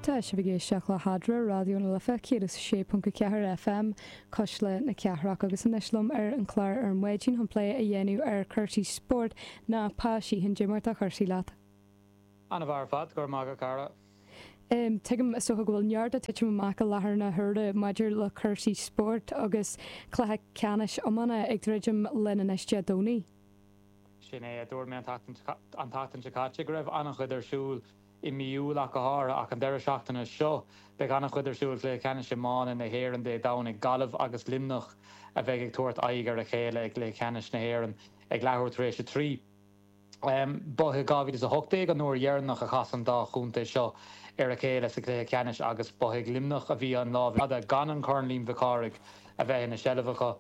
Tá sibh ag éisteacht le hEadra, Raidió na Life 106.4 FM, Cuisle na Cathrach agus anois liom ar an chlár ar maidin chun plé a dhéanamh ar chúrsaí spóirt ná Pa Sheehan. Cad é mar atá cúrsaí leat? An-mhaith ar fad, go raibh maith agat a chara. Tuigim is dócha go bhfuil neart ag titim amach i láthair na huaire maidir le cúrsaí spóirt agus cluiche ceannais iomána ag druidim linn anois Dé Domhnaigh. Sin é, a dúirt mé an tseachtain seo caite go raibh an-chuid ar siúl i mí Iúil ach go háirithe, ach an deireadh seachtaine seo beidh an-chuid ar siúl, Cluiche Ceannais Iomána na hÉireann Dé Domhnaigh, Gaillimh agus Luimneach a bheidh ag tabhairt aghaidh ar a chéile i gCluiche Ceannais na hÉireann ag leathuair tar éis 3. Ba i 2018 an uair dheireanach a chas an dá chontae seo ar a chéile sa chluiche ceannais agus ba ag Luimneach a bhí an lámh fhada gan an Corn Liam Mhic Cárthaigh a bheith ina seilbh acu.